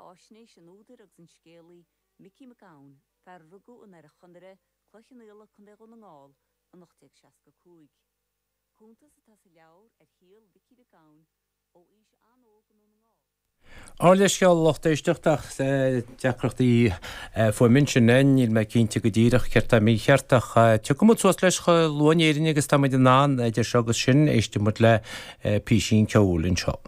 beatháisnéis an údair agus an scéalaí Micí Mac Gabhann, fear a rugadh i nDoire Chonaire, Cloich Cheann Fhaola, Co. Dhún na nGall, in 1865. Cuntas atá sa leabhar ar shaol Mhicí Mhic Gabhann ó aois an-óg i nDún na nGall. Ár leithscéal a lucht éisteachta ach deacrachtaí fuaime ansin. Níl mé cinnte go díreach céard tá mícheart ach tiocfaidh muid suas leis chomh luath in Éirinn agus tá muid in ann idir seo agus sin éistfidh muid le písín ceoil anseo.